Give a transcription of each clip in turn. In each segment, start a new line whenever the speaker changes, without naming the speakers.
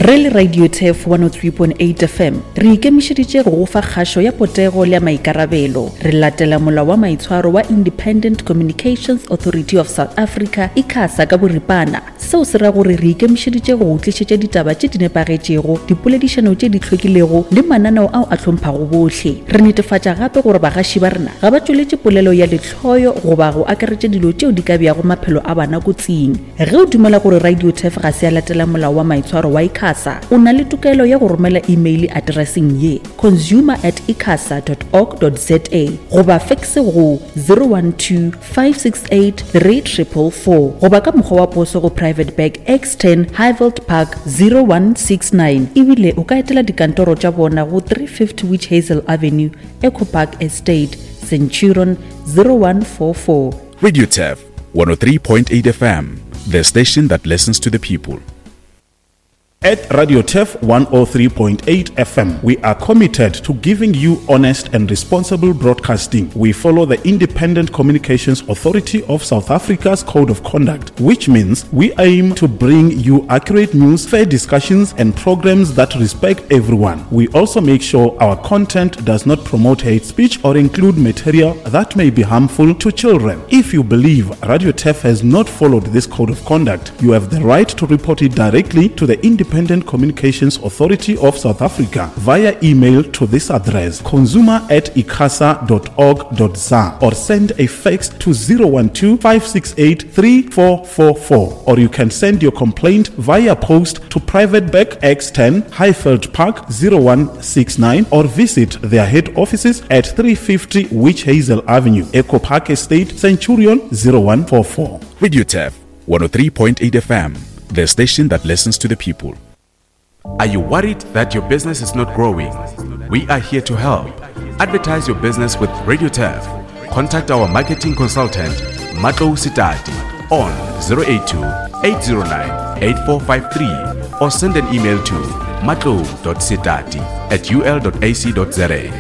Re le Radio Turf 103.8 FM, re ikemišeditše go go fa kgašo ya potego le ya maikarabelo. Re latela molao wa maitshwaro wa Independent Communications Authority of South Africa, ICASA, ka boripana. Seo se ra gore re ikemišeditše go go tlišetša ditaba tše di nepagetšego, dipoledišano tše di hlwekilego le mananeo ao a hlomphago bohle. Re netefatša gape gore bagaši ba rena ga ba tšweletše polelo ya lehloyo goba go akaretša dilo tšeo di ka beago maphelo a bana kotsing. Ge o dumela gore Radio Turf ga se ya latela molao wa maitshwaro wa ICASA, o na le tokelo ya go romela imeile atereseng ye, consumer at icasa dot org dot za goba fekse go 012 568 3444 goba ka mokgwa wa poso go Private Bag X10 Highveld Park 0169 ebile o ka etela dikantoro tša bona go 350 Witch Hazel Avenue, Echo Park Estate, Centurion 0144.
Radio Turf 103.8 FM, the station that listens to the people.
At Radio Turf 103.8 FM, we are committed to giving you honest and responsible broadcasting. We follow the Independent Communications Authority of South Africa's Code of Conduct, which means we aim to bring you accurate news, fair discussions, and programs that respect everyone. We also make sure our content does not promote hate speech or include material that may be harmful to children. If you believe Radio Turf has not followed this code of conduct, you have the right to report it directly to the Independent Communications Authority of South Africa via email to this address consumer at icasa.org.za or send a fax to 012 568 3444 or you can send your complaint via post to Private Bank X10 Highveld Park 0169 or visit their head offices at 350 Witch Hazel Avenue, Echo Park Estate, Centurion 0144.
Radio Turf 103.8 FM, the station that listens to the people. Are you worried that your business is not growing? We are here to help. Advertise your business with Radio Turf. Contact our marketing consultant, Matlo Sitati, on 082 809 8453 or send an email to matlo.sitati at ul.ac.za.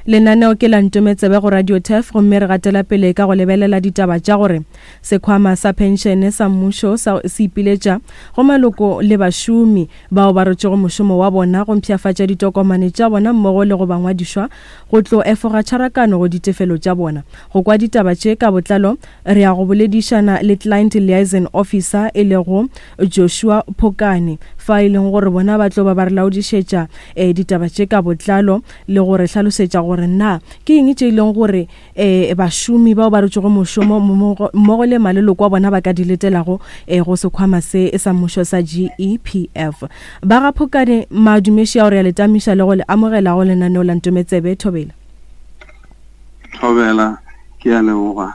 Lenaneo ke la Ntometsebe go Radio Turf gomme re gatela pele ka go lebelela ditaba tša gore sekhwama sa phenšene sa mmušo sa se ipiletša go maloko le bašomi bao ba rotšego mošomo wa bona go mpshafatša ditokomane tša bona mmogo le go ba ngwadišwa go tlo efoga tšharakano go ditefelo tša bona. Go kwa ditaba tše ka botlalo re ya go boledišana le Client Liaison Officer e lego Joshua Phokane fa e leng gore bona ba tlo ba ba re laodišetša eh, ditaba tše ka botlalo le go re hlalosetša gore na ke eng tše e leng gore um bašomi bao ba rotšego mošomo mmogo le maleloko a bona ba ka di letelago um go sekhwama se sa mmušo sa GEPF. Ba ga Phokane Madumeši ao re a le tamiša le go le amogela go lenaneo la Ntometsebe Thobela.
Thobela, ke a leboga.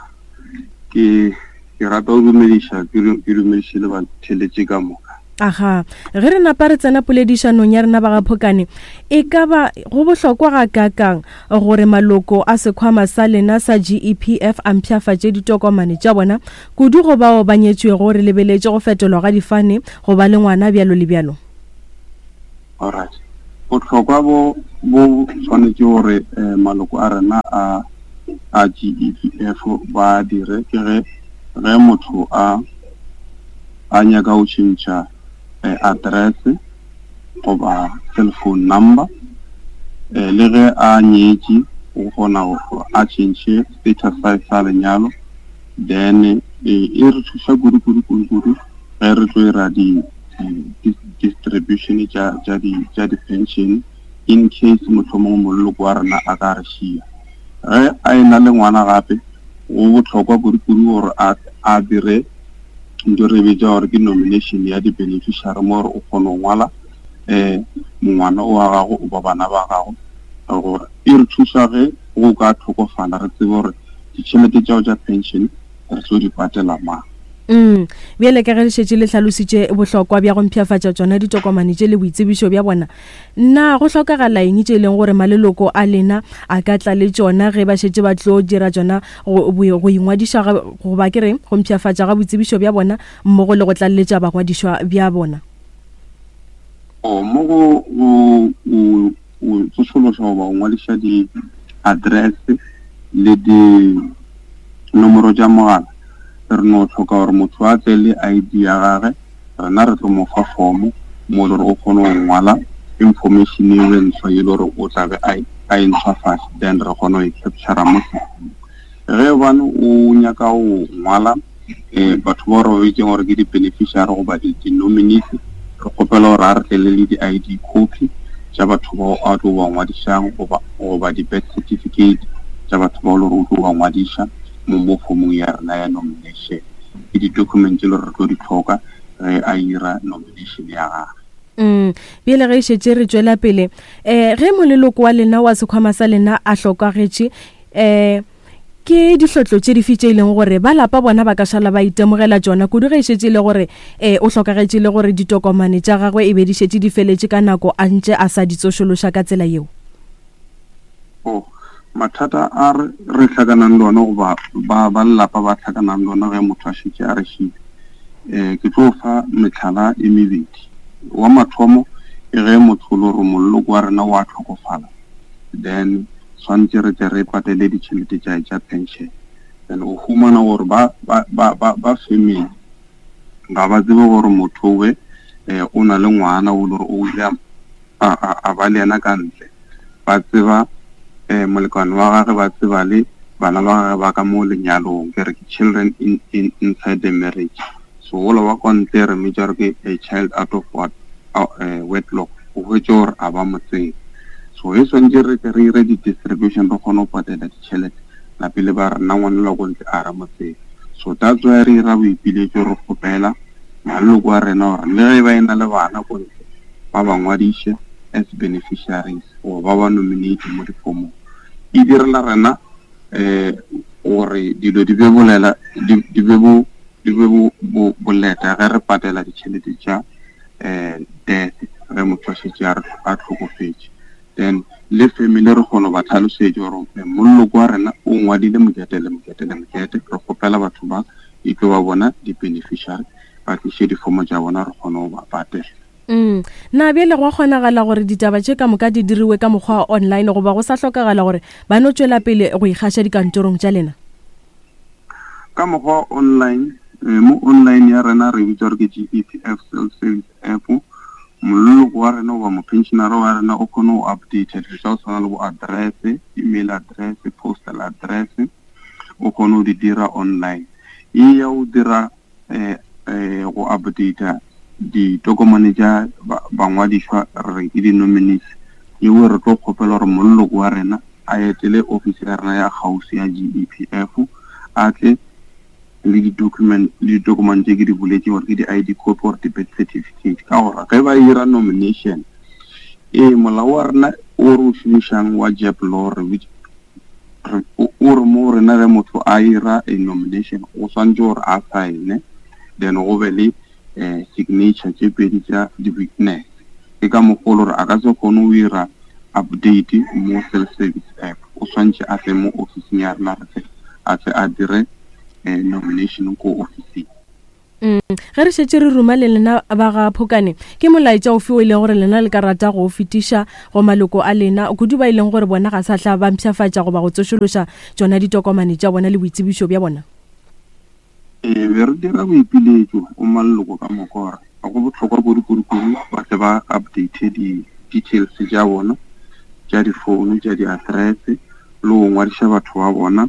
Ke ke rata go dumediša ke dumediše le batheletše ka moka.
Aga, ge re napa re tsena poledišanong ya rena ba ga Phokane, e ka ba go bohlokwa gakaakang gore maloko a sekhwama sa lena sa GEPF a mpshafatše ditokomane tša bona, kudu go bao ba nyetšwego re lebeletše go fetolwa ga difane, go ba le ngwana, bjalo le bjalo?
Alright. Bohlokwa bo bo swanetše gore eh, maloko a rena a a GEPF ba dire ke ge ge motho a a nyaka go tšhentšha eh, address goba cell phone number eh, le ge a nyetše o kgona go a tšhentšhe status sa sa lenyalo then eh, e re thuša kudu kudu kudu kudu ge re tlo ira di distribution tša tša di tša di-pension in case mohlomongwe moleloko wa rena a ka re šia ge a e na le ngwana gape go bohlokwa kudu-kudu gore a a dire nto re bitša gore ke nomination ya di-beneficiary mo gore o kgone go ngwala um mongwana o wa gago o ba bana ba gago gore e re thuša ge go ka tlhokofala re tsebe gore ditšhelete tšao tša pension re tlo di patela mang.
Mm. Bjale ka ge le šetše le hlalositše bohlokwa bja go mpshafatša tšona ditokomane tše le boitsebišo bja bona, na go hlokagala eng tše e leng gore maleloko a lena a ka tla le tšona ge ba šetše ba tlo dira tšona go, go ingwadiša goba ke re go mpshafatša ga boitsebišo bja bona mmogo le go tlaleletša bangwadišwa bja bona?
O, mo go, go, go, go tsošološa goba go ngwadiša di-address le di nomoro tša mogala, re no hloka gore motho a tle le ID ya gage. Rena re tlo mo fa form mo e le gore o kgone go ngwala information eo e ntshwa e le gore o tla be a e ntshwafatša, then re kgone go e captura mo systemong. Ge bane o nyaka go ngwala um batho ba re bitseng gore ke di-beneficiary goba di-nominees, re kgopela gore a re tlele le di-I_D copy tša batho bao a tlo ba ngwadišang goba goba di-birth certificate tša batho bao le gore o tlo ba ngwadiša mo mo fomong ya rena ya nomination. Ke di-document tše le gore re tlo di tlhoka ge a ira nomination ya gagwe.
Mm, bjale ge e šetše re tšwela pele um ge moleloko wa lena wa sekhwama sa lena a hlokagetše um ke dihlotlo tše dife tše e leng gore ba lapa bona ba ka šala ba itemogela tšona kudu ge e šetše e le gore um o hlokagetše le gore ditokomane tša gagwe e be di šetše di feletše ka nako a ntše a sa di tsošološa ka tsela yeo?
Oh, mathata a re re hlakanang le ona goba ba ba lelapa ba hlakanang le ona ge motho a šetše a re šile um ke tlo fa metlhala e mebedi. Wa mathomo ke ge motho o le gore moleloko wa rena wa tlhokofala then swantše re tle re patele ditšhelete tša tša pension. Then o humana gore ba ba ba ba ba family ga ba tsebe gore motho owe eh, o na le ngwana o le gore o ile a, a, a ba le yena ka ntle. Ba tseba eh, molekane wa gage, ba tseba le bana ba gage ba ka mo lenyalong, ke re ke children in, in, inside the marriage. So wola wa kwa ntle re mmitša gore ke a child out of what, uh, wedlock, o hwetše gore a ba mo tsebe. So e swantše re tle re ire di-distribution re kgone go patela ditšhelete lapele ba rena ngwana la ko ntle a re mo tsebe. So that's why re ira boipiletšo re kgopela maloko a rena gore le ge ba e na le bana ko ntle ba ba ngwadiše as beneficiaries goba ba ba nominate mo difomong. E direla rena um gore dilo di be bolela di be bo di be bo bo boleta ge re patela ditšhelete tša um death ge motho a šetše a a tlhokofetše. Then le family re kgona go ba tlhalosetša gore eh, moloko wa rena o ngwadile mokete le mokete le mokete, re kgopela batho ba e tlo ba bona di-beneficiary ba tliše difomo tša bona re kgone go ba patela.
Mm. Na bjale go a kgonagala gore ditaba tše ka moka di diriwe ka mokgwa wa online goba go sa hlokagala gore ba no tšwela pele go ikgaša dikantorong tša lena?
Ka mokgwa wa online, eh, mo online ya rena re bitsa gore ke GEPF self service app. Moleloko wa rena goba mopensionara wa rena o kgone go update dilo tsa go tshwana le bo address, email address, postal address, o kgone go di dira online. E ya go dira eh, eh, go updata ditokomane tša bangwadišwa re re ke di-nominees, yeo re tlo kgopela gore moleloko wa rena a etele ofisi ya rena ya kgauswi ya GEPF, a tle le di-document le ditokomane tše ke di boletše gore ke di-I_D copy or di-birth certificate. Ka gore ge ba ira nomination, ee molao wa rena o re o šomišang wa JEP law re o re mo rena ge motho a ira a nomination o swantse gore a sign then go be le um signature tše pedi tša di-witness. Ke ka mokgwa o le gore a ka se kgone go ira update mo self service app, o swantse a tle mo officing ya rena re tle a tle a dire um nomination ko officing.
Mm. Ge re šetše re ruma le lena ba ga Phokane, ke molaetša ofe o e leng gore lena le ka rata go o fetiša go maloko a lena, kudu ba e leng gore bona ga sa hla ba mpshafatša goba go tsošološa tšona ditokomane tša bona le boitsebišo bja bona?
Ee, be re dira boipiletšo go maloko ka moka gore go bohlokwa kudu-kudu-kudu ba tle ba update di-details tša bona tša difounu, tša di-address le go ngwadiša batho ba bona.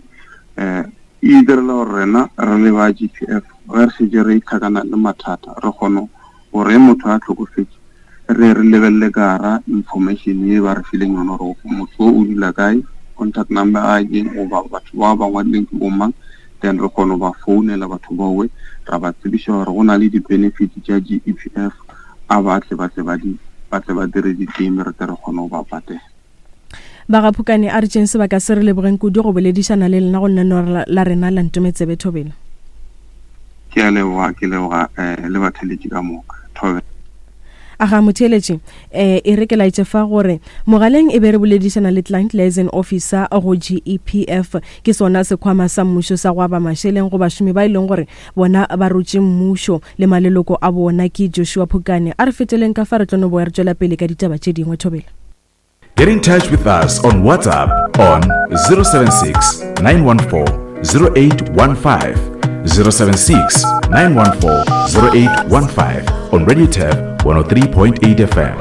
Um e direla gore rena re le ba G_P_F ge re šetše re tlhakana le mathata re kgone gore ge motho a hlokofetše re re lebelele ka gara information ye ba re fileng yona gore motho o dula kae, contact number a ke goba batho ba ba ngwadileng ke bomang, then re kgone go ba founela batho bawe ra ba tsebiša gore go na le di-benefits tša G_E_P_F a ba tle ba tle ba di ba tle ba dire di-claim re tle re kgone go ba patela.
Ba ga Phukane a re tšeng sebaka se re lebogeng kudu go boledišana le lena go lenaneo la rena la Ntometsebe Thobela.
Ke a leboga, ke leboga eh, le batheletši ka moka. Thobela.
Aga motheeletši, eh, e re ke laetše fa gore mogaleng e be re boledišana le Client Liaison Officer go GEPF, ke sona sekhwama sa mmušo sa go aba mašeleng go bašomi ba e leng gore bona ba rotše mmušo le maleloko a bona, ke Joshua Phukane. A re feteleng ka fa re tlo no boya re tšwela pele ka ditaba tše dingwe. Thobela.
Get in touch with us on WhatsApp on 076 914 0815. 076 914 0815 on Radio Turf 103.8 FM.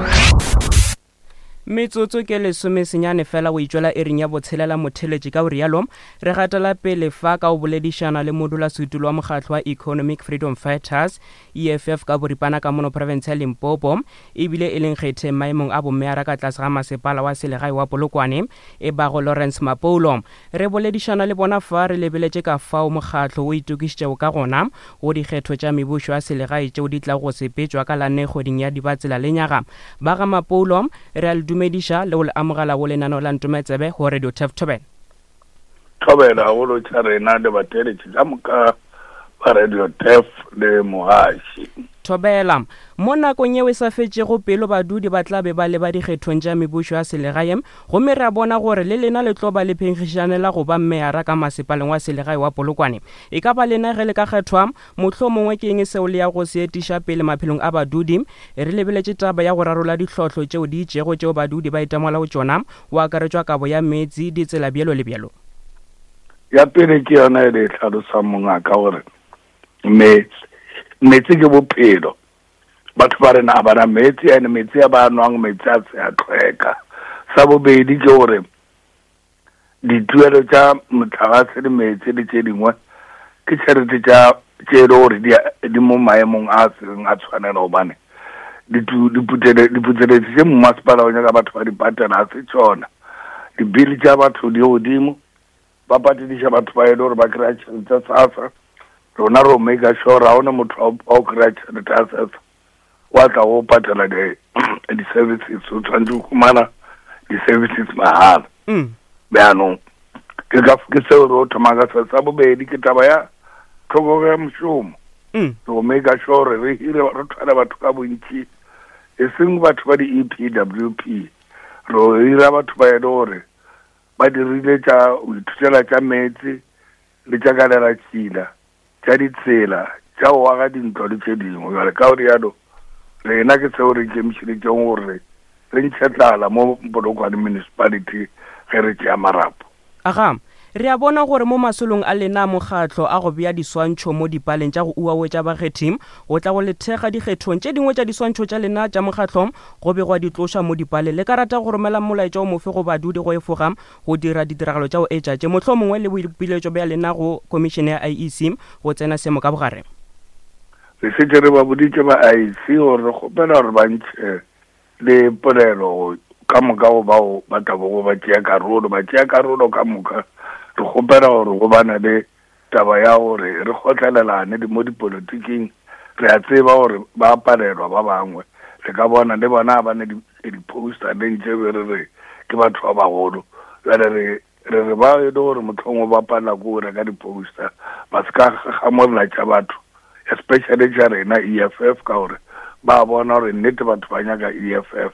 Metsotso ke lesomesenyane fela go itšwela iring ya botshelela motheletši ka go rialo re gatela pele fa ka go boledišana le modulasetulo wa mokgatlo wa Economic Freedom Fighters, EFF ka boripana ka mono profense ya Limpopo ebile e leng kgetheng maemong a bomeyara ka tlase ga masepala wa selegae wa Polokwane e bago Lawrence Mapoulo. Re boledišana le bona fa re lebeletše ka fao mokgatlo o itokišitšego ka gona go dikgetho tša mebušo ya selegae tšeo di tlago go sepetšwa ka la nne kgweding ya Dibatsela lenyaga. Ba ga Mapoulo, re a le dumediša le go le amogela go lenaneo la Ntometsebe go Radio Turf Thobela.
Thobela gagolo tša rena le batheeletši ka moka ba Radio Turf le mogaši.
Thobela. Mo nakong yeo e sa fetšego pelo badudi ba tla be ba leba dikgethong tša mebušo ya selegae gomme re a bona gore le lena le tlo ba le phenkgišanela go ba meyara ka masepaleng wa selegae wa Polokwane. E ka ba lena ge le ka kgethwa, mohlomongwe ke eng seo le yago go se etiša pele maphelong a badudi? Re lebeletše taba ya go rarolla dihlotlo tšeo di itšego tšeo badudi ba itemogelago tšona, go akaretšwa kabo ya meetse, ditsela bjalo le bjalo.
Ya pele ke yona e le e hlalosang mongaka gore meetse meetse ke bophelo batho ba rena a bana meetse ene meetse a ba nwang meetse a se a tlhweka sa bobedi ke gore dituelo tša motlagase le meetse le tše dingwe ke tšhelete tša tše e le gore di mo maemong a seng a tshwanela gobane diputseletsi tše mmasepala o nyaka batho ba di patela a se tšona dibili tša batho di godimo ba patediša batho ba e le gore ba kry-a tšhelete sasa rona ro make sure ga one motho wa o kry-a tšhelete ya sasa wa tla go patela di-services o tshwanetse go humana di-services mahala mm. bjaanong ke ka ke seo re o thoma ka se sa bobedi ke taba ya tlhokego ya mošomo mm. go make sure re hire re thwale batho ka bontši e seng batho ba di-e p w p re hira batho ba e le gore ba dirile tša go ithutela tša meetse le tša kalelatšhila, tša ditsela, tša go aga dintlo le tše dingwe. Bjale ka go rialo, rena ke seo re ikemišeditšeng gore re ntšhe tlala mo Polokwane Municipality ge re tšea marapo.
Aga, re a bona gore mo masolong a lena a mokgatlo a go bea diswantšho mo dipaleng tša go uawetša bakgethi go tla go le thekga dikgethong tše dingwe tša diswantšho tša lena tša mokgatlo go be gwa di tloša mo dipaleng. Le ka rata go romela molaetša o mofe go badudi go efoga go dira ditiragalo tša go etša tše, mohlomongwe le boipiletšo bja lena go Khomišene ya IEC go tsena seemo ka bogare?
Re šetše re ba boditše ba IEC gore re kgopela gore ba ntšhe le polelo ka moka go bao ba tlabogo ba tšea karolo. Ba tšea karolo ka moka re kgopela gore go bane le Taba ya gore re kgotlelelane mo dipolotiking, re a tseba gore ba palelwa ba bangwe. Le ka bona le bona ga ba ne di-poster le ntše be re re ke batho ba bagolo. Bjale re re re ba e le gore mohlomongwe ba palela ke go reka di-poster, ba se ka gamolla tša batho, especially tša rena EFF, ka gore ba bona gore nnete batho ba nyaka EFF.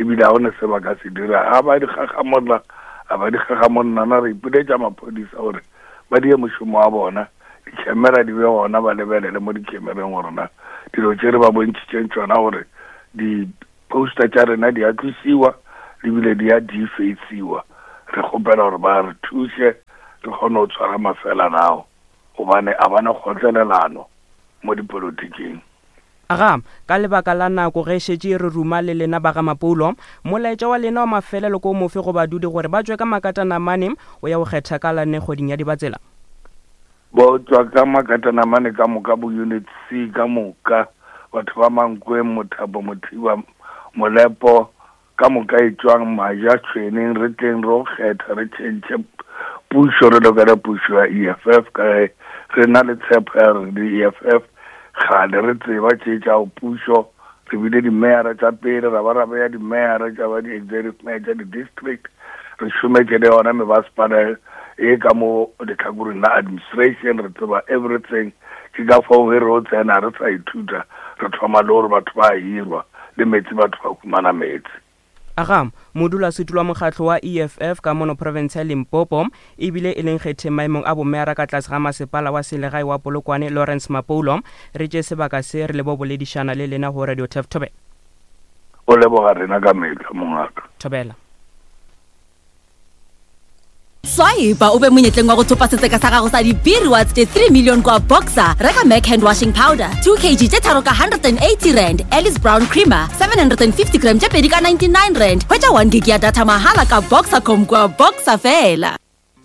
Ebile ga go ne se ba ka se dira. Ga ba di gagamolla, ga ba di gagamolla, na re ipiletša maphodisa gore ba die mošomo wa bona, dikhemera di be gona, ba lebelele mo dikhemereng gore na dilo tše re ba bontšhitšeng tšona gore di-poster tša rena di a tlosiwa le bile di a defaceiwa. Re kgopela gore ba re thuše re kgone go tshwara mafelana ao gobane a ba na kgotlelelano mo dipolotiking.
Aga, ka lebaka la nako ge šetše re ruma le lena ba ga Mapoulo, molaetša wa lena wa mafelelo ke o mofe go badudi gore ba tšwe ka makatanamane o ya go kgetha ka la nne kgweding ya Dibatsela?
Bo tšwa ka makatanamane ka moka bo Unit C ka moka, batho ba Mankweng, Mothapo, Mothiba, Molepo, Ka moka etšwang maja tšhweneng re tleng ro kgetha re tšhentšhe pušo re lokele pušo ya EFF ka ge re na le tshepo ya re le EFF kgale re tseba tše tša go pušo re bile dimeyara tša pele ra ba ra beya dimeyara tša ba di-executive mayor tša di-district re šometše le yona mebasepala e ka mo lehlakoreng la administration re tseba everything ke ka fao ge re o tsena re sa ithuta re thoma le gore batho ba hirwa le meetse batho ba humana meetse.
Aga, modulasetulo wa mokgatlo wa EFF ka mono profense ya Limpopo, ebile e leng kgetheng maemong a bomeyara ka tlase ga masepala wa selegae wa Polokwane, Lawrence Mapoulo, re tše sebaka se re lebo boledišana le lena go Radio Turf Thobela.
O leboga rena ka mehla, mongaka.
Thobela.
Swipe o be monyetleng wa go thopa setseka sa gago sa di-B-rewards tše 3 million kwa Boxer. Reka Mac hand washing powder 2 kg tše tharo ka 180 rand, Alice Brown creamer 750 gram tše pedi ka 99 rand. Hwetša 1 gig ya data mahala ka Boxercom kwa Boxer fela.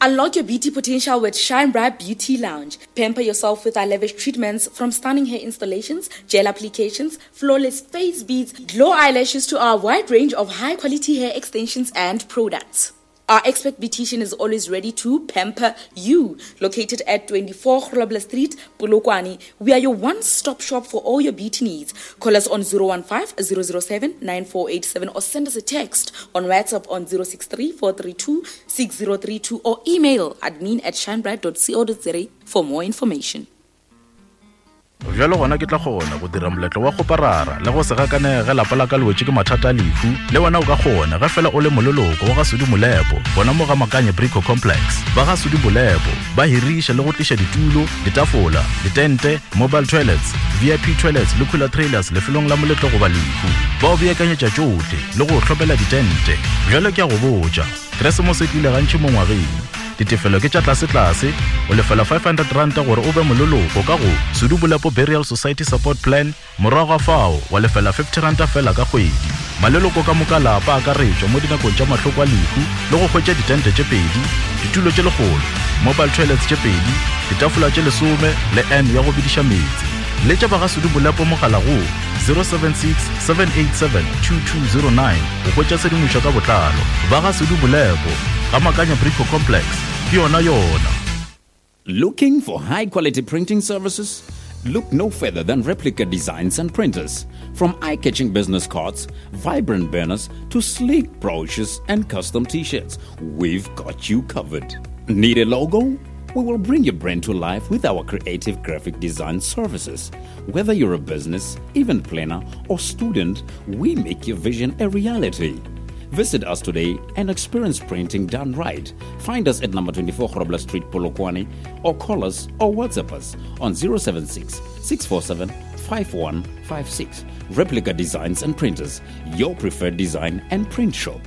Unlock your beauty potential with Shine Bright Beauty Lounge. Pamper yourself with our lavish treatments from stunning hair installations, gel applications, flawless face beads, glow eyelashes to our wide range of high quality hair extensions and products. Our expert beautician is always ready to pamper you. Located at 24 Grobler Street, Polokwane, we are your one-stop shop for all your beauty needs. Call us on 015 007 9487 or send us a text on WhatsApp on 063 432 6032 or email admin at shinebright.co.za for more information.
Bjalo gona ke tla kgona go dira moletlo wa kgoparara le go se gakanege ge lapa la ka le wetše ke mathata a lehu. Le wena o ka kgona ge fela o le moleloko wa ga Sudi Molepo gona mo ga Makanye Brico Complex. Ba ga Sudi Molepo ba hiriša le go tliša ditulo, ditafola, ditente, mobile toilets, VIP toilets le cooler trailers lefelong la moletlo goba lehu. Ba o beakanyetša tšohle le go o hlopela ditente. Bjalo ke a go botša, Keresemose e tlile gantši mo ngwageng. Ditefelo ke tša tlasetlase, o lefela R500 gore o be moleloko ka go Sudu Bolepo Burial Society Support Plan, morago ga fao wa lefela R50 fela ka kgwedi. Maleloko ka moka a lapa a akaretšwa mo dinakong tša mahloko a lehu le go hwetša ditente tše pedi, ditulo tše lekgolo, mobile toilets tše pedi, ditafola tše lesome le urn ya go bediša meetse. Letša ba ga Sudu Bolepo mogala go 076 787 2209. Go hwetša tshedimošo ka botlalo, ba ga Sudu Bolepo, ga Makanya Brico Complex, ke yona yona.
Looking for high quality printing services? Look no further than Replica Designs and Printers. From eye catching business cards, vibrant banners, to sleek brochures and custom t shirts, we've got you covered. Need a logo? We will bring your brand to life with our creative graphic design services. Whether you're a business, event planner, or student, we make your vision a reality. Visit us today and experience printing done right. Find us at number 24 Grobler Street, Polokwane, or call us or WhatsApp us on 076 647 5156. Replica Designs and Printers, your preferred design and print shop.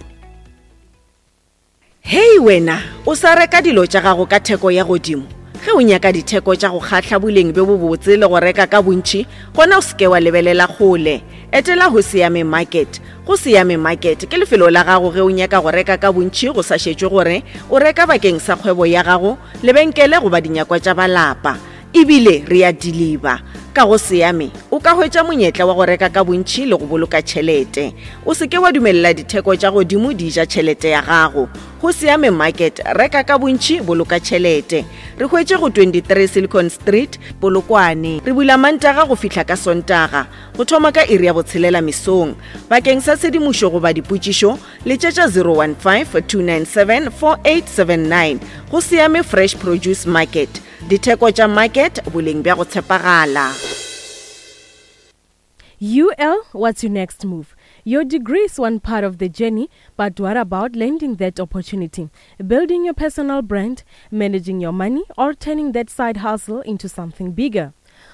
Hei wena, o sa reka dilo tša gago ka theko ya godimo? Ge o nyaka ditheko tša go kgahla boleng bjo bobotse le go reka ka bontši, gona o se ke wa lebelela kgole. Etela Hosiame Market. Gosiame Market ke lefelo la gago ge o nyaka go reka ka bontši go sa šetšwe gore o reka bakeng sa kgwebo ya gago, lebenkele goba dinyakwa tša ba lapa. E bile re a diliba. Ka go Seame, o ka hwetša monyetla wa go reka ka bontši le go boloka tšhelete. O se ke wa dumelela ditheko tša godimo di ja tšhelete ya gago. Go Seame Market, reka ka bontši, boloka tšhelete. Re hwetše go 23 Silicon Street, Polokwane. Re bula Mantaga go fihla ka Sontaga, go thoma ka iri ya botshelela mesong. Bakeng sa tshedimošo goba dipotšišo, letšetša 015 297 4879. Go Seame Fresh Produce Market. Ditheko tša market, boleng bja go tshepagala.
UL, what's your next move? Your degree is one part of the journey, but what about landing that opportunity? Building your personal brand, managing your money, or turning that side hustle into something bigger?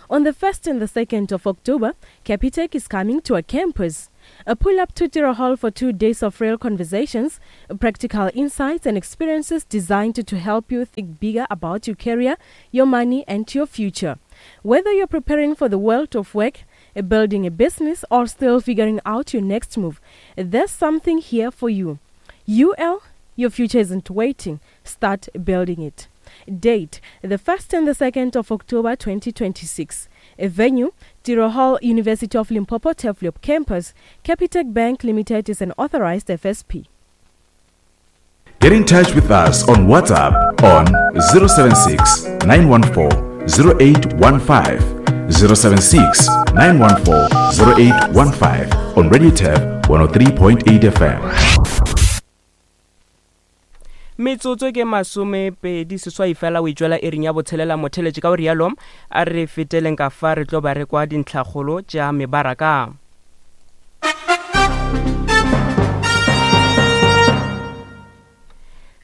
On the 1st and the 2nd of October, Capitec is coming to a campus. A pull up to Tiro Hall for two days of real conversations, practical insights, and experiences designed to help you think bigger about your career, your money, and your future. Whether you're preparing for the world of work, building a business, or still figuring out your next move, there's something here for you. UL, your future isn't waiting. Start building it. Date the 1st and the 2nd of October 2026. A venue Tiro Hall, University of Limpopo Turfloop Campus. Capitec Bank Limited is an authorized FSP.
Get in touch with us on WhatsApp on 076 914 0815. 076 914 0815 on Radio Tab 103.8 FM.
Metsotso ke masomepedi seswai fela o itšwela iring ya botshelela motheletše ka o rialo a re feteleng ka fa re tlo ba re kwa dintlhakgolo tša mebaraka.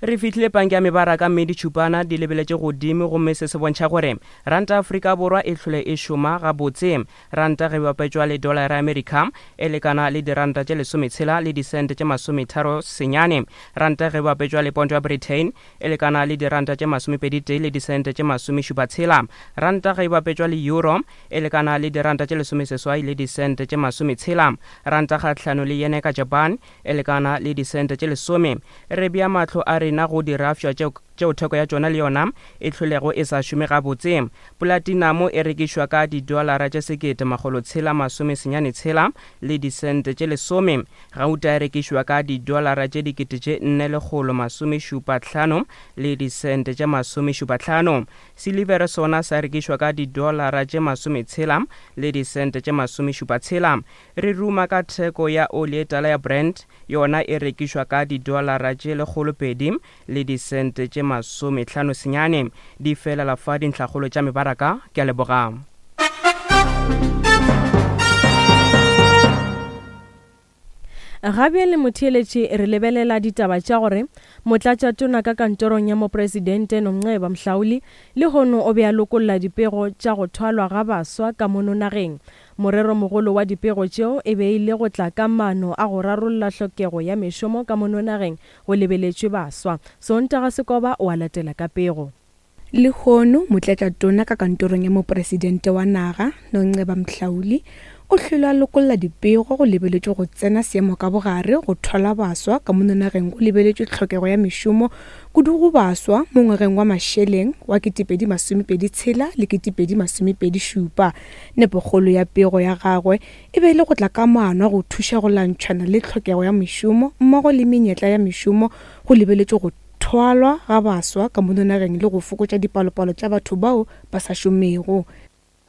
Re fihlile panke ya mebaraka mme ditšhupana di lebeletše godimo gomme se se bontšha gore ranta ya Afrika Borwa e hlole e šoma gabotse. Ranta ge e bapetšwa le dolara ya Amerika e lekana le diranta tše lesometshela le disente tše masometharo senyane. Ranta ge e bapetšwa le ponto ya Britain e lekana le diranta tše masomepeditee le disente tše masomešupatshela. Ranta ge e bapetšwa le euro e lekana le diranta tše lesomeseswai le disente tše masometshela. Ranta kgahlano le yene ka Japan e lekana le disente tše lesome. Re bea mahlo a rena go dirafša tšeo, tšeo theko ya tšona le yona e hlolego e sa šome gabotse. Polatinamo e rekišwa ka didolara tše sekete makgolo tshela masome senyane tshela le disente tše lesome. Gauta e rekišwa ka didolara tše dikete tše nne lekgolo masome šupa hlano le disente tše masome šupa hlano. Silivere sona sa rekišwa ka didolara tše masome tshela le disente tše masome šupa tshela. Re ruma ka theko ya oli e tala ya Brent, yona e rekišwa ka didolara tše lekgolopedi le disente tše masomehlano senyane. Di felela fa dintlhakgolo tša mebaraka. Ke a leboga.
Ga bjale motheeletši re lebelela ditaba tša gore Motlatšatona ka kantorong ya Mopresidente Nomceba Mhlauli lehono o be a lokolla dipego tša go thwalwa ga baswa ka mono nageng. Moreromogolo wa dipego tšeo e be e le go tla ka maano a go rarolla hlokego ya mešomo ka mono nageng go lebeletšwe baswa. Sontaga Sekoba o a latela ka pego.
Lehono, Motlatšatona ka kantorong ya Mopresidente wa naga, Nonceba Mhlauli, o hlwele a lokolla dipego go lebeletšwe go tsena seemo ka bogare go thwala baswa ka mono nageng go lebeletšwe tlhokego ya mešomo kudu go baswa mo ngwageng wa mašeleng wa 2026 le 2027. Nepokgolo ya pego ya gagwe e be e le go tla ka maano a go thuša go lwantšhana le tlhokego ya mešomo mmogo le menyetla ya mešomo go lebeletšwe go thwalwa ga baswa ka mono nageng le go fokotša dipalopalo tša batho bao ba sa šomego.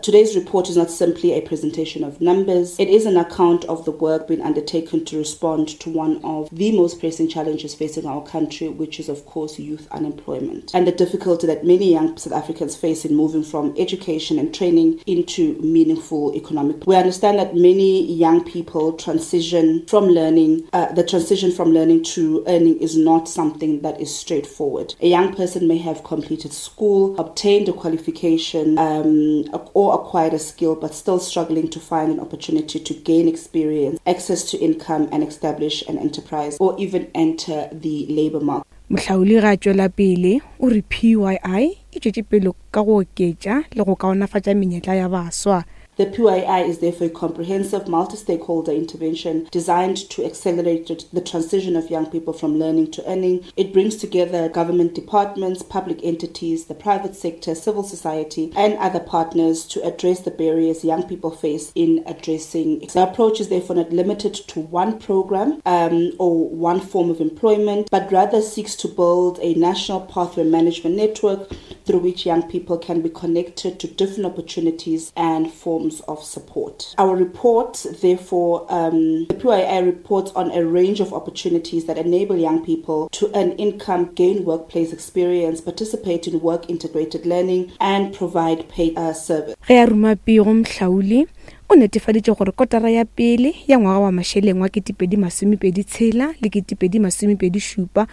Today's report is not simply a presentation of numbers, it is an account of the work being undertaken to respond to one of the most pressing challenges facing our country, which is, of course, youth unemployment and the difficulty that many young South Africans face in moving from education and training into meaningful economic. We understand that many young people transition from learning, uh, the transition from learning to earning is not something that is straightforward. A young person may have completed school, obtained a qualification, um, or acquired a skill, but still struggling to find an opportunity to gain experience, access to income, and establish an enterprise, or even enter the labor market.
Mohlaoli ge a tšwela pele o re PYI e tšwetše pele ka go oketša le go kaonafatša menyetla ya baswa.
The PYI is therefore a comprehensive multi-stakeholder intervention designed to accelerate the transition of young people from learning to earning. It brings together government departments, public entities, the private sector, civil society, and other partners to address the barriers young people face in addressing. The approach is therefore not limited to one program um, or one form of employment, but rather seeks to build a national pathway management network through which young people can be connected to different opportunities and forms of support. Our report, therefore, um, the PII reports on a range of opportunities that enable young people to earn income, gain workplace experience, participate in work integrated learning, and provide paid uh, service.
Ge a ruma pego Mhlauli o netefaditše gore kotara ya pele ya ngwaga wa mašeleng wa 2026 le 2027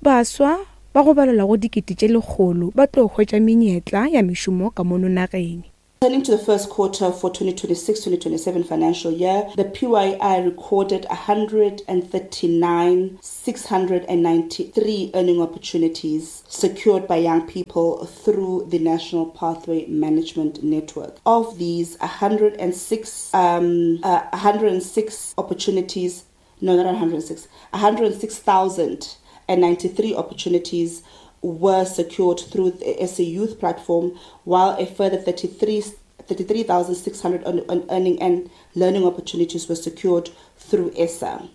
baswa ba go balelwa go dikete tše lekgolo ba tlo hwetša menyetla ya mešomo ka mono nageng.
Turning to the first quarter for 2026-2027 financial year, the PYI recorded 139,693 earning opportunities secured by young people through the National Pathway Management Network. Of these, 106, um, uh, 106 opportunities, no, not 106, 106,093 opportunities were secured through the SA Youth platform, while a further 33 33,600 earning and learning opportunities were secured through ESSA.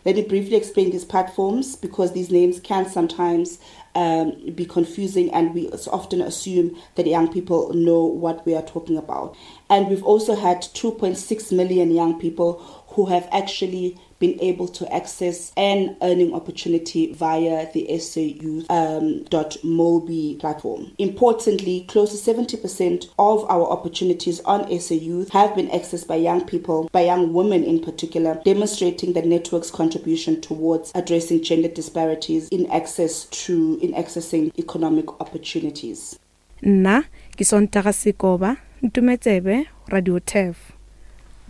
Let me briefly explain these platforms because these names can sometimes um, be confusing and we often assume that young people know what we are talking about. And we've also had 2.6 million young people who have actually been able to access an earning opportunity via the SA Youth um, .mobi platform. Importantly, close to 70% of our opportunities on SA Youth have been accessed by young people, by young women in particular, demonstrating the network's contribution towards addressing gender disparities in access to in accessing economic opportunities.
Nna ke Sontaga Sekoba, Ntumetsebe, Radio Turf.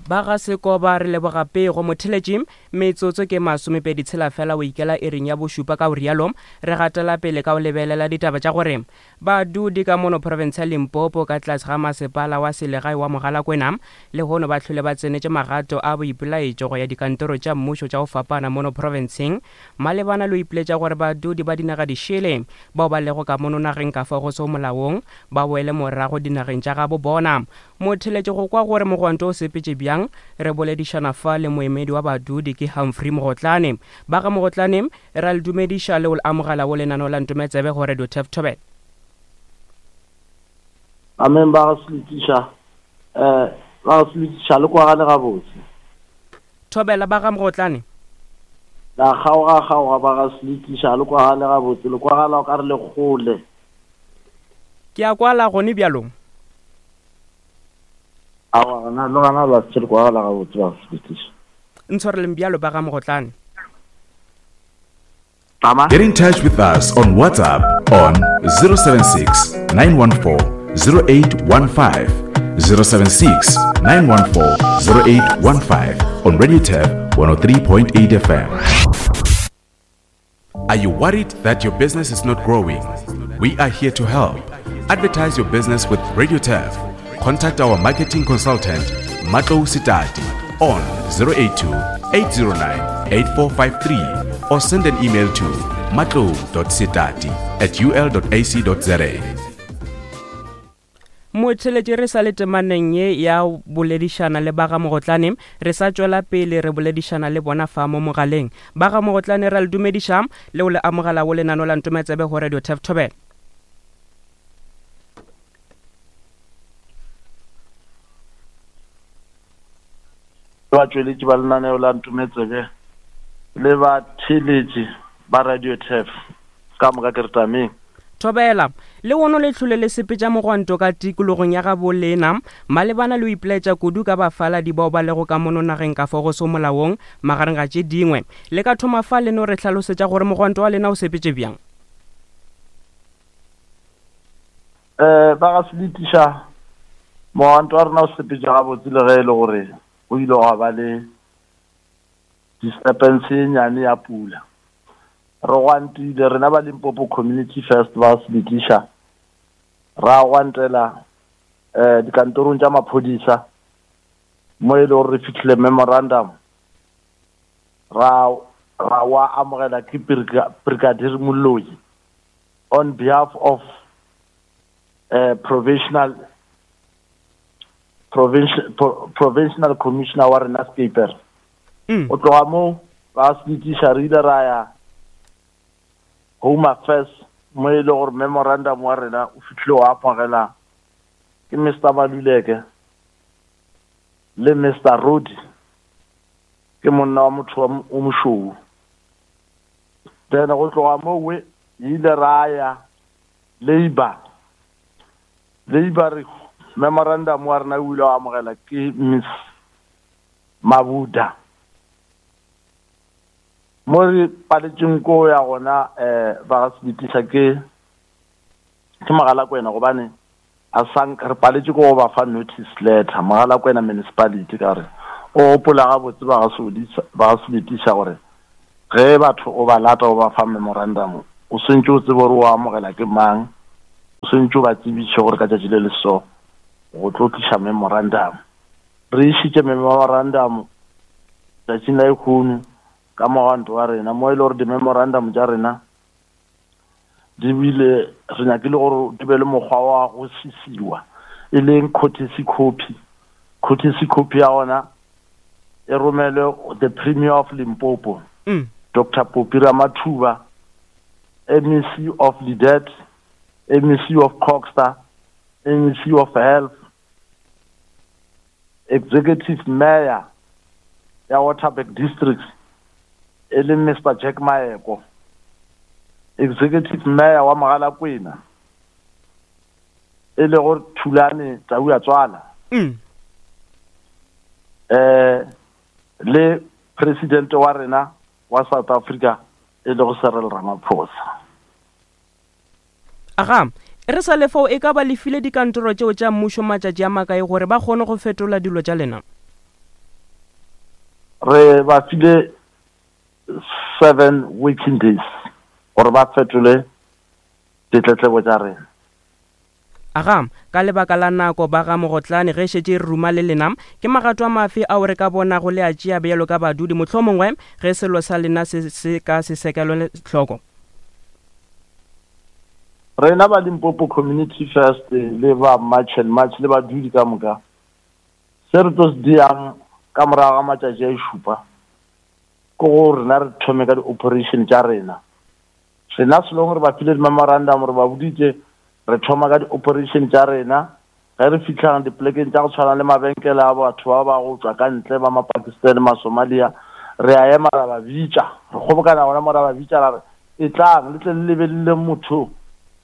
Ba ga Sekoba re leboga pego. Motheletši, metsotso ke masomepedi tshela fela o ikela iring ya bošupa ka o rialo re gatela pele ka o lebelela ditaba tša gore badudi ka mono profense ya Limpopo ka tlase ga masepala wa selegae wa Mogalakwena lehono ba hlole ba tsenetše magato a boipelaetšo go ya dikantoro tša mmušo tša go fapana mono profenseng Malebana le go ipiletša gore badudi ba dinaga dišele bao ba lego ka mono nageng ka fao go sego molaong ba boele morago dinageng tša gabo bona. Motheletši go kwa gore mogwanto o sepetše bjang, re boledišana fa le moemedi wa badudi ke Humphrey Mogotlane. Ba ga Mogotlane, re a le dumediša le go le amogela go lenaneo la Ntometsebe go Radio Turf Thobela.
Amen ba ga Seletiša eh ba ga Seletiša le kwagale gabotse.
Thobela ba ga Mogotlane.
La kgaoga kgaoga ba ga Seletiša le kwagale gabotse le kwagala o ka re le kgole.
Ke a kwala gone bjalo.
Aowa gona le gona la se le kwagala gabotse ba ga Seletiša.
Ntshwareleng bjalo ba ga Mogotlane.
Get in touch with us on WhatsApp on 076 914 0815. 076 914 0815 on Radio Tab 103.8 FM. Are you worried that your business is not growing? We are here to help. Advertise your business with Radio Turf. Contact our marketing consultant, Matlo Sitati, on 082 809 8453 or send an email to matlo.sitati at ul.ac.za.
Motheletši re sa le temaneng ye ya boledišana le ba ga Mogotlane, re sa tšwela pele re boledišana le bona fa mo mogaleng. Ba ga Mogotlane ra le dumediša le go le amogela go lenano la Ntometsebe go Radio Turf Thobela.
Batšweletši ba lenaneo la Ntometsebe le batheeletši ba Radio Turf ka moka ke re tameng.
Thobela, Lehono le hlole le sepetša mogwanto ka tikologong ya gabo lena malebana le go ipelaetša kudu ka bafaladi bao ba lego ka mono nageng ka fao go sego molaong magareng ga tše dingwe. Le ka thoma fa le no re hlalosetša gore mogwanto wa lena o sepetše bjang?
Um ba ga Seletiša, mogwanto wa rena o sepetše gabotse le ge e le gore go ile gwa ba le disturbance ye nyane ya pula. Re gwantile rena ba Limpopo Community First ba Seletiša ra gwantela um dikantorong tša maphodisa mo e le gore re fihlile memorandum ra ra wa amogela ke Brigadier Moloi on behalf of uh, provisional provincial provincial commissioner wa rena Skeper mm. o tloga mo ba se tliša re ile ra ya home affairs mo e le gore memorandum wa rena o fitlhile wa amogela ke Mr Maluleke le Mr Rodi ke monna wa motho wa o mošou then go tloga mowe ile ra ya labor labor re memorandum wa rena o ile wa amogela ke miss mabuda mo re paletšeng ko ya gona um ba ga sebetisa ke ke Mogalakwena gobane a sank re paletše ko go ba fa notice letter Mogalakwena municipality ka gore o gopola gabotse ba ga Sodisa ba ga Sebetiša gore ge batho o ba lata o ba fa memorandum o swantše o tsebe gore o amogela ke mang o swantše o ba tsebiše gore ka tšatši le le so go tlo tliša memorandum re išitše memorandum tšatšing la ekgono ka mogwanto wa rena mo e le gore di-memorandum tša rena di bile re nyakile gore di be le mokgwa wa go sisiwa e leng courtesy copy courtesy copy ya gona e romelwe the premier of limpopo mm. dr popi ramathuba mec of lidet mec of coxter mec of health executive mayor ya waterberg district. e leng Mister Jack Maeko, Executive Mayor wa Mogalakwena, e lego Thulane Tauatswala,
mm.
eh, le President wa rena wa South Africa e lego Cyril Ramaphosa.
Aga, re sa le fao e ka ba le file dikantoro tšeo tša mmušo matšatši a makae gore ba kgone go fetola dilo tša lena?
Re ba file seven working days gore ba fetole ditletlebo tša rena.
Aga, ka lebaka la nako ba ga Mogotlane ge e šetše e re ruma le lena, ke magato a mafe ao re ka bonago le a tšea bjalo ka badudi mohlomongwe ge selo sa lena se se ka se sekelwe hloko?
Rena ba Limpopo Community First le ba March and March le badudi ka moka, se re tlo se dirang ka morago ga matšatši a šupa ke go rena re thome ka di-operation tša rena. Rena selong re ba file di-memorandum, re ba boditše re thoma ka di-operation tša rena ge re fihlang dipolekeng tša go tshwana le mabenkele a batho ba ba go tšwa ka ntle ba Mapakistan, Masomalia, re a ema ra ba bitša, re kgobokana gona mo ra ba bitša ra re etlang le tle le lebelele motho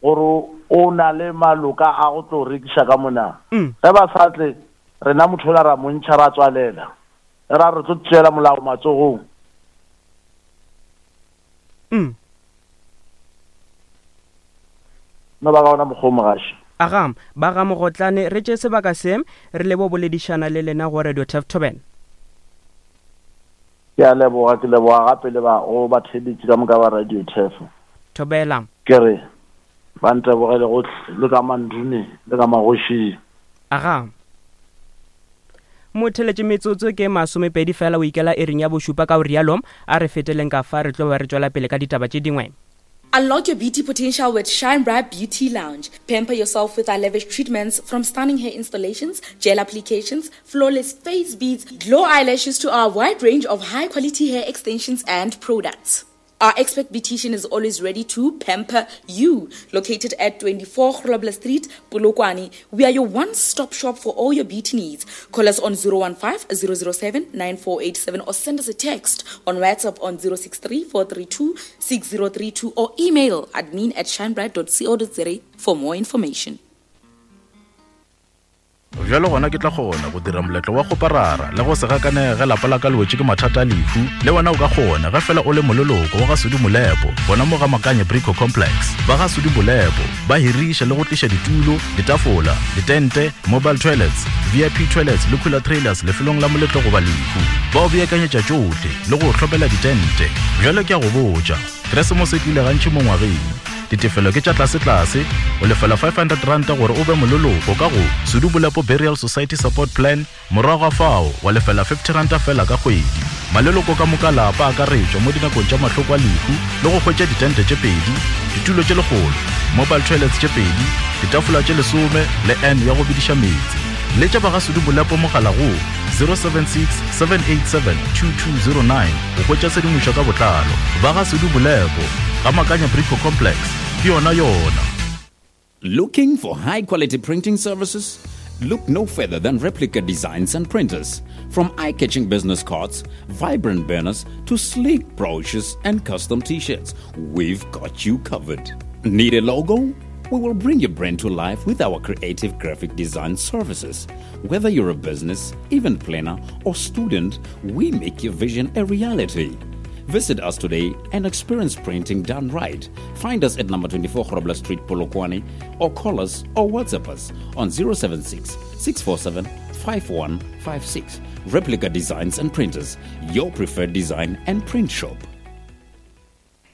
gore o na le maloka a go tlo rekiša ka mona. Ge ba sa tle, rena motho ola ra mo ntšha ra tswalela, ra re tlo tšeela molao matsogong.
Mm.
No ba ka ona mokgwa o mogaši.
Aga, ba ga Mogotlane, re tše sebaka se, re lebo boledišana le lena go Radio Turf Thobela.
Ke a leboga, ke leboga gape le ba go batheeletši ka moka ba Radio Turf.
Thobela.
Ke re, ba ntebogele gohle, le ka mandune, le ka magošing.
Aga. Motheletše metsotso ke masomepedi fela o ikela iring ya bošupa ka o rialo a re feteleng ka fa re tlo be re tšwela pele ka ditaba tše dingwe.
Unlock your beauty potential with Shine Bright Beauty Lounge. Pamper yourself with our lavish treatments from stunning hair installations, gel applications, flawless face beads, glow eyelashes to our wide range of high quality hair extensions and products. Our expert beautician is always ready to pamper you. Located at 24 Grobler Street, Polokwane, we are your one-stop shop for all your beauty needs. Call us on 015 007 9487 or send us a text on WhatsApp on 063 432 6032 or email admin at shinebright.co.za for more information.
Bjalo gona ke tla kgona go dira moletlo wa kgoparara le go se gakanege ge lapa la ka le wetše ke mathata a lehu. Le wena o ka kgona ge fela o le moleloko wa ga Sudi Molepo gona mo ga Makanye Brico Complex. Ba ga Sudi Molepo ba hiriša le go tliša ditulo, ditafola, ditente, mobile toilets, VIP toilets le cooler trailers lefelong la moletlo goba lehu. Ba o beakanyetša tšohle le go o hlomela ditente. Bjale ke a go botša, Keresemose e tlile gantši mo ngwageng. Ditefelo ke tša tlasetlase, o lefela R500 gore o be moleloko ka go Sudu Bolepo Burial Society Support Plan, morago ga fao wa lefela R50 fela ka kgwedi. Maleloko ka moka a lapa a akaretšwa mo dinakong tša mahloko a lehu le go hwetša ditente tše pedi, ditulo tše lekgolo, mobile toilets tše pedi, ditafola tše lesome le urn ya go bediša meetse. Letša ba ga Sudu Bolepo mogala go 076 787 2209 go hwetša tshedimošo ka botlalo. Ba ga Sudu Bolepo, ga Makanya Brico Complex, ke yona yona.
Looking for high quality printing services? Look no further than Replica Designs and Printers. From eye catching business cards, vibrant banners, to sleek brochures and custom t shirts, we've got you covered. Need a logo? We will bring your brand to life with our creative graphic design services. Whether you're a business, event planner, or student, we make your vision a reality. Visit us today and experience printing done right. Find us at number 24 Grobler Street, Polokwane, or call us or WhatsApp us on 076 647 5156. Replica Designs and Printers, your preferred design and print shop.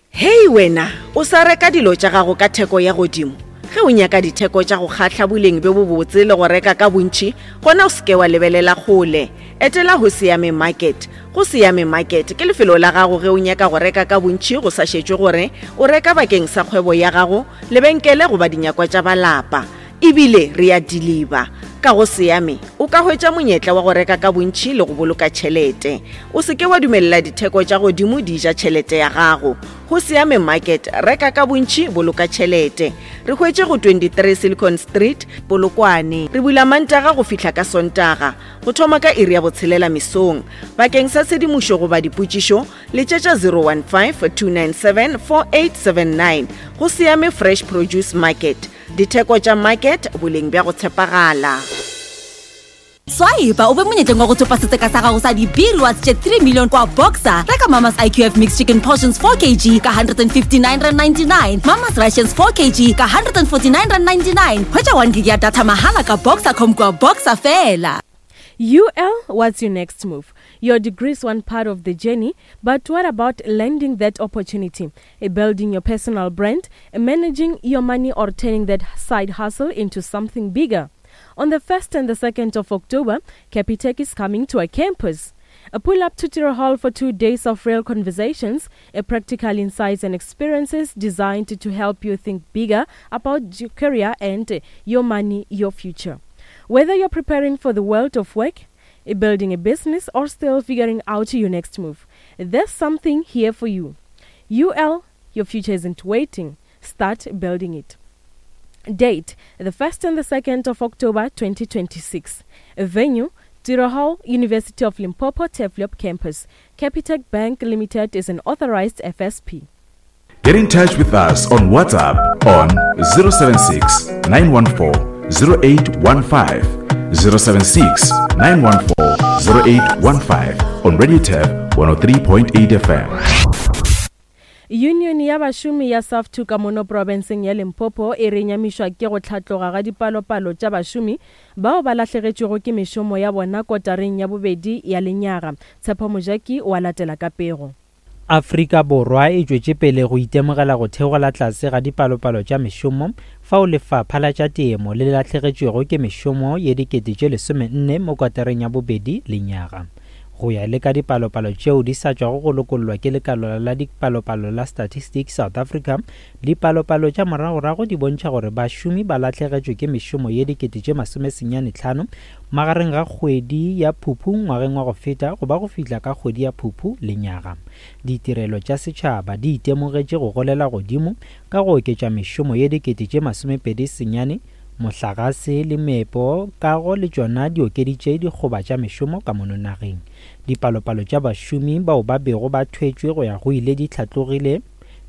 Hei wena, o sa reka dilo tša gago ka theko ya godimo? Ge o nyaka ditheko tša go kgahla boleng bjo bobotse le go reka ka bontši, gona o se ke wa lebelela kgole. Etela Hosiame Market. Go Siame Market ke lefelo la gago ge o nyaka go reka ka bontši go sa šetšwe gore o reka bakeng sa kgwebo ya gago, lebenkele goba dinyakwa tša ba lapa. Ebile re ya diliba. Ka go Seame, o ka hwetša monyetla wa go reka ka bontši le go boloka tšhelete. O se ke wa dumelela ditheko tša godimo di ja tšhelete ya gago. Go Seame Market, reka ka bontši, boloka tšhelete. Re hwetše go 23 Silicon Street, Polokwane. Re bula Mantaga go fihla ka Sontaga, go thoma ka iri ya botshelela mesong. Bakeng sa tshedimošo goba dipotšišo, letšetša 015 297 4879. Go Seame Fresh Produce Market. Ditheko tša market, boleng bja go tshepagala.
Swipe o be monyetleng wa go thopa setseka sa gago sa di-B-rewards tše 3 million kwa Boxer. Reka Mama's IQF Mixed Chicken Portions 4 kg ka R159.99, Mama's Rations 4 kg ka R149.99. Hwetša 1 gig ya data mahala ka Boxercom kwa Boxer fela.
UL, what's your next move? Your degree is one part of the journey, but what about landing that opportunity? Building your personal brand, managing your money, or turning that side hustle into something bigger? On the 1st and the 2nd of October, Capitec is coming to our campus. A pull up to Tiro Hall for two days of real conversations, a practical insights and experiences designed to help you think bigger about your career and your money, your future. Whether you're preparing for the world of work, building a business, or still figuring out your next move, there's something here for you. UL, your future isn't waiting. Start building it. Date the 1st and the 2nd of October 2026. Venue Tiro Hall, University of Limpopo, Teflop Campus. Capitec Bank Limited is an authorized FSP.
Get in touch with us on WhatsApp on 076 914 0815. 076 914 0815 on Radio Tab 103.8 FM.
Yunione ya bašomi ya SAFTU ka mono profenseng ya Limpopo e re nyamišwa ke go hlatloga ga dipalopalo tša bašomi bao ba lahlegetšwego ke mešomo ya bona kotareng ya bobedi ya lenyaga. Tshepo Mojaki o a latela ka pego.
Afrika Borwa e tšwetše pele go itemogela go theogela tlase ga dipalopalo tša mešomo fao lefapha la tša temo le lahlegetšwego ke mešomo ye 14,000 mo kwatereng ya bobedi lenyaga. Go ya le ka dipalopalo tšeo di sa tšwago go lokollwa ke lekala la dipalopalo la Statistics South Africa, dipalopalo tša moragorago di bontšha gore bašomi ba lahlegetšwe ke mešomo ye 95,000 magareng ga kgwedi ya Phuphu ngwageng wa go feta go ba go fihla ka kgwedi ya Phuphu lenyaga. Ditirelo tša setšhaba di itemogetše go golela godimo ka go oketša mešomo ye 29,000 Mohlagase le meepo, kago le tšona di okeditše dikgoba tša mešomo ka mono nageng. Dipalopalo tša bašomi bao ba bego ba thwetšwe go ya go ile di hlatlogile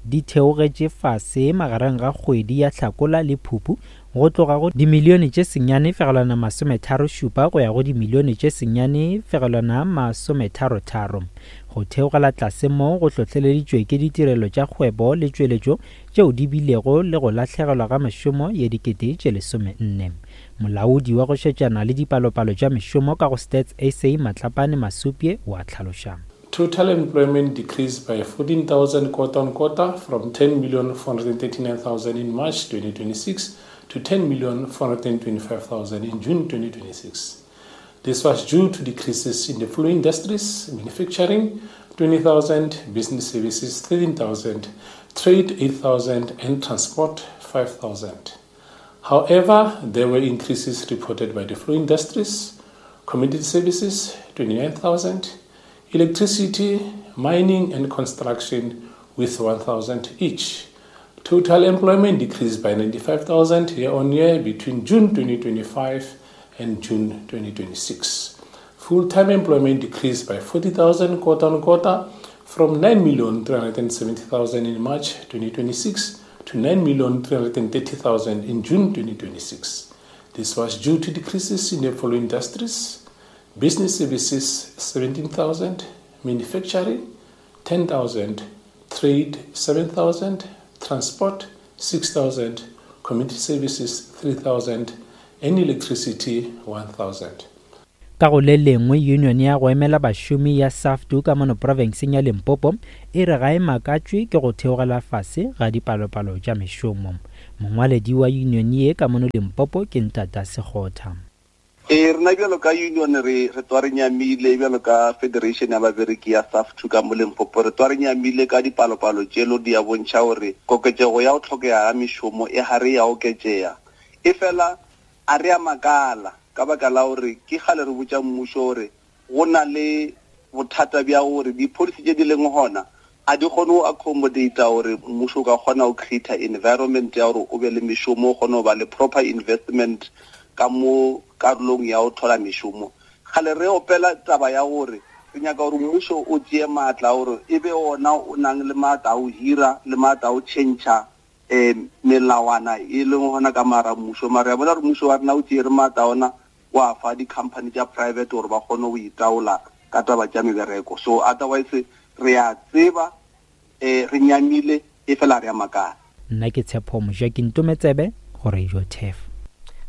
di theogetše fase magareng ga kgwedi ya Hlakola le Phupu go tloga go dimilione tše 9.37 go ya go dimilione tše 9.33. Go theogela tlase mo go hlohleleditšwe ke ditirelo tša kgwebo le tšweletšo tšeo di bilego le go lahlegelwa ga mešomo ye 14,000. Molaodi wa go šetšana le dipalopalo tša mešomo ka go Stats SA Matlapane Masupye o a hlaloša.
Total employment decreased by 14,000 quarter-on-quarter from 10,439,000 in March 2026 to 10,425,000 in June 2026. This was due to decreases in the following industries: manufacturing, 20,000, business services, 13,000, trade, 8,000, and transport, 5,000. However, there were increases reported by the following industries: community services, 29,000, electricity, mining and construction with 1,000 each. Total employment decreased by 95,000 year-on-year between June 2025 and June 2026. Full-time employment decreased by 40,000 quarter-on-quarter from 9,370,000 in March 2026 to 9,330,000 in June 2026. This was due to decreases in the following industries: business services 17,000, manufacturing 10,000, trade 7,000, transport 6,000, community services 3,000 and electricity 1,000.
Ka go le lengwe, yunione ya go emela bašomi ya SAFTU ka mono profenseng ya Limpopo e re ga e makatšwe ke go theogela fase ga dipalopalo tša mešomo. Mongwaledi wa yunione ye ka mono Limpopo ke Ntata Sekgotha.
Ee, rena bjalo ka union re re tswa re nyamile bjalo ka federation ya babereki ya SAFTU ka mo Limpopo re tswa re nyamile ka dipalopalo tšelo di a bontšha gore koketšego ya go tlhokega ga mešomo e gare ya oketšega. Efela. A re a makala ka baka la gore ke kgale re botša mmušo gore go na le bothata bja gore di-policy tše di leng gona a di kgone go accommodata gore mmušo o ka kgona go create environment ya gore o be le mešomo, o kgone go ba le proper investment ka mo karolong ya go thola mešomo. Kgale re opela taba ya gore re nyaka gore mmušo o tšee maatla a gore e be ona o nang le maatla a go hira le maatla a go tšhentšha um melawana e leng gona ka mara mmušo. Mara ya bona gore mmušo wa rena o tšeere maatla ona wa fa di-company tša private gore ba kgone go itaola ka taba tša mebereko. So otherwise re a tseba um re nyamile e fela re a makala.
Nna ke Tshepo Mojaki Ntometsebe go Radio Turf.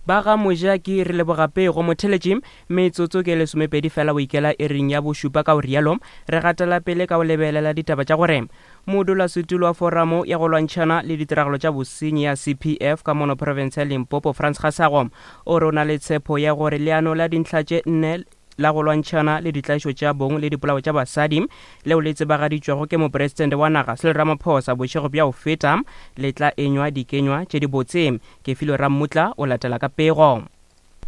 Ba ga Mojaki re leboga pego. Motheletši, metsotso ke lesomepedi fela o ikela iring ya bošupa ka o rialo re gatela pele ka o lebelela ditaba tša gore Modulasetulo wa Foramo ya go lwantšhana le ditiragalo tša bosenyi ya CPF ka mono profense ya Limpopo Frans Gasago o re o na le tshepo ya gore leano la dintlha tše nne la go lwantšhana le ditlaišo tša bong le dipolao tša basadi leo le tsebagaditšwego ke mopresidente wa naga Cyril Ramaphosa bošego bja go feta le tla enywa dikenywa tše dibotse. Kefilwe Rammutla o latela ka pego.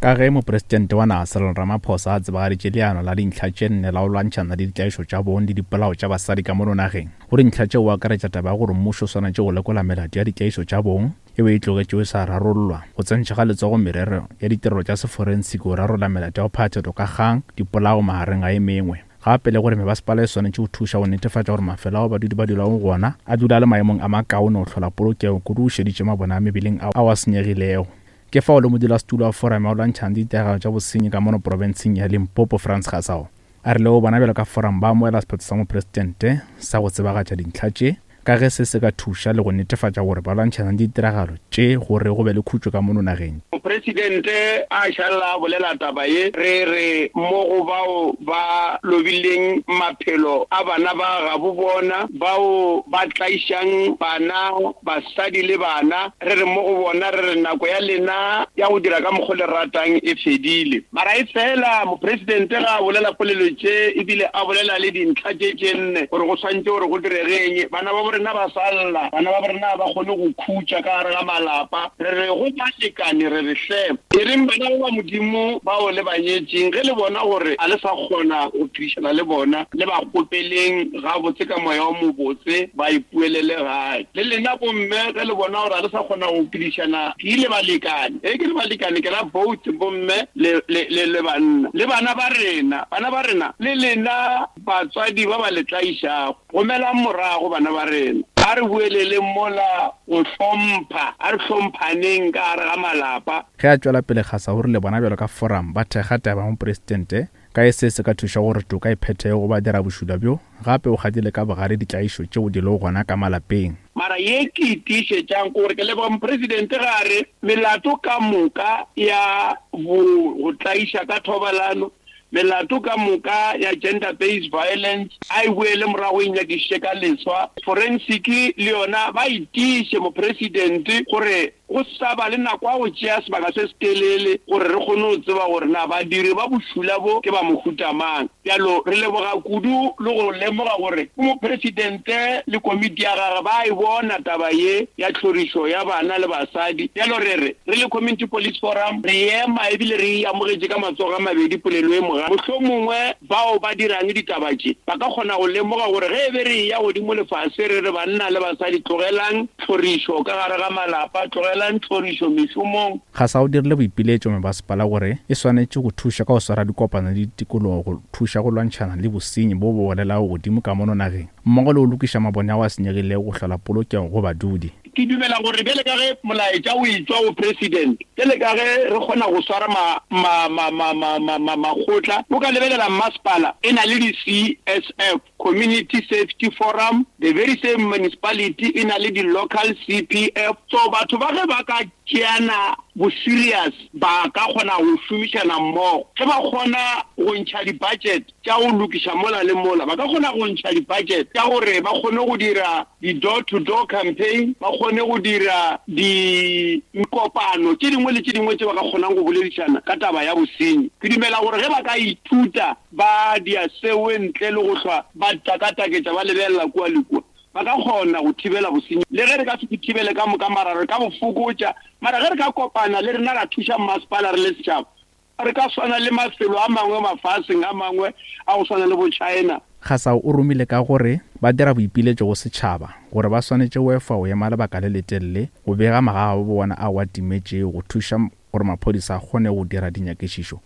Ka ge Mopresidente wa naga Cyril Ramaphosa a tsebagaditše leano la dintlha tše nne la go lwantšhana le ditlaišo tša bong le dipolao tša basadi ka mono nageng, go dintlha tšeo o akaretša taba ya gore mmušo o swanetše go lekola melato ya ditlaišo tša bong yeo e tlogetšego e sa rarollwa, go tsentšha ga letsogo merero ya ditirelo tša seforensiki go rarolla melato ya go phatha toka kgang, dipolao magareng ga e mengwe. Gape le gore mebasepala e swanetše go thuša go netefatša gore mafelo ao badudi ba dulago go ona a dula a le maemong a makaone go hlola polokego kudu go šeditše mabone a mebeleng ao a senyegilego. Ke fao le modulasetulo wa Foramo ya go lwantšhana le ditiragalo tša bosenyi ka mono profenseng ya Limpopo Frans Gasau a rilego bona bjalo ka Foramo ba amoela sephetho sa mopresidente sa go tsebagatša dintlha tše ka ge se se ka thuša le go netefatša gore ba lwantšhana le ditiragalo tše gore go be le khutšo ka mono nageng.
Mopresidente a šalela a bolela taba ye, re re mo go bao ba lobileng maphelo a bana ba gabo bona, bao ba tlaišang bana, basadi le bana, re re mo go bona, re re nako ya lena ya go dira ka mokgo le ratang e fedile. Mara e fela Mopresidente ge a bolela polelo tše e bile a bolela le dintlha tše tše nne gore go swantše gore go direge eng, bana ba bo rena ba sa lla, bana ba bo rena ga ba kgone go khutša ka gare ga malapa. Re re go balekane, re re hle, e reng bana ba ba Modimo bao le ba nyetšeng, ge le bona gore ga le sa kgona go phedišana le bona, le ba kgopeleng gabotse ka moya o mobotse ba ipuelele gae. Le lena bomme, ge le bona gore ga le sa kgona go phedišana ke le balekane, ge ke re balekane ke ra both bomme le, le, le, le banna, le bana ba rena, bana ba rena, le lena batswadi ba ba le tlaišago, gomelang morago bana ba rena. A re boeleleng mola go hlompha, a re hlomphaneng ka gare ga malapa.
Ge a tšwela pele Gasa o rile bona bjalo ka forum ba thekga taba ya mopresidente Ka ge se se ka thuša gore toka e phethege go badirabošula bjo, gape o kgadile ka bogare ditlaišo tšeo di lego gona ka malapeng.
Mara ye ke e tiišetšang ke gore ke leboga Mopresidente ge a re melato ka moka ya bo go tlaiša ka thobalano, melato ka moka ya gender based violence a e boele morago e nyakišiše ka leswa. Forensic le yona ba e tiiše Mopresidente gore Go sa ba le nako ya go tšea sebaka se setelele gore re kgone go tseba gore na badiri ba bošula bo ke ba mohuta mang. Bjalo re leboga kudu le go lemoga gore Mopresidente le komiti ya gagwe ba a e bona taba ye ya tlhorišo ya bana le basadi. Bjalo re re, re le Community Police Forum re ema ebile re e amogetše ka matsogo a mabedi polelo ye moga. Mohlomongwe bao ba dirang ditaba tše ba ka kgona go lemoga gore ge e be re eya godimo le fase re re banna le basadi tlogelang tlhorišo ka gare ga malapa, tlogelang tlhorišo mešomong.
Gasa o dirile boipiletšo mebasepala gore e swanetše go thuša ka go swara dikopano le ditikologo go thuša go lwantšhana le bosenyi bo bo welelago godimo ka mono nageng mmogo le go lokiša mabone ao a senyegilego go hlola polokego go badudi.
Ke dumela gore bjale ka ge molaetša o etšwa go President, bjale ka ge re kgona go swara ma, ma, ma, ma, ma, ma, ma, makgotla, o ka lebelela mmasepala e na le di-CSF, Community Safety Forum, the very same municipality e na le di-local CPF. So batho ba ge ba ka tšeana bo serious ba ka kgona go šomišana mmogo. Ge ba kgona go ntšha di-budget tša go lokiša mola le mola, ba ka kgona go ntšha di-budget tša gore ba kgone go dira di-door to door campaign, ba kgone go dira dikopano tše dingwe le tše dingwe tše ba ka kgonang go boledišana ka taba ya bosenyi. Ke dumela gore ge ba ka ithuta ba dia seo ntle le go hlwa ba takataketša ba lebelela kua le kua. Ba ka kgona go thibela bosenyi, le ge re ka se bo thibele ka moka, mara re ka bo fokotša. Mara ge re ka kopana le rena ra thuša mmasepala re le setšhaba, re ka swana le mafelo a mangwe mafaseng a mangwe a go swana le bo China.
Kgasau o romile ka gore ba dira boipiletšo go setšhaba gore ba swanetše go efa go ema lebaka le letelele go bega magagabo bona ao a timetšego go thuša gore maphodisa a kgone go dira dinyakišišo.